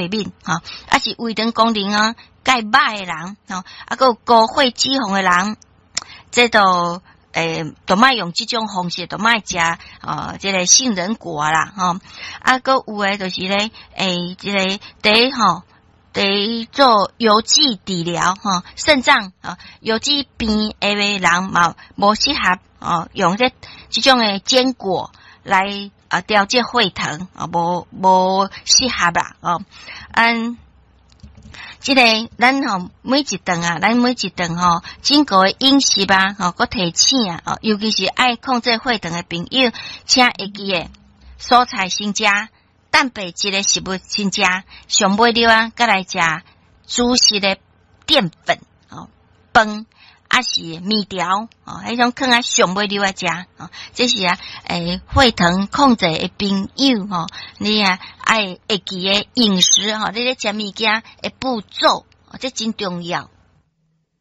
敏吼，抑是胃腸功能啊較歹的人吼，啊，閣有高血脂肪的人，這都都莫用這種方式，都莫食哦，這个杏仁果啦，吼，啊，閣有的就是咧，這个佇吼，佇做油脂治療吼，腎臟啊油脂病的人嘛，無適合哦，用這種的堅果來啊調節血糖啊，無適合啦哦，嗯。這个咱吼每一頓啊，咱每一頓吼，整個的飲食啊，吼，閣提醒啊，哦，尤其是愛控制血糖的朋友，請會記得蔬菜先食，蛋白質的食物先食，上尾了啊，閣來食主食的澱粉哦，飯抑是麵條哦，彼種囥佇上尾了仔食哦，這是啊，血糖控制的朋友吼，你啊愛會記得飲食吼，你咧食物件的步驟，這真重要。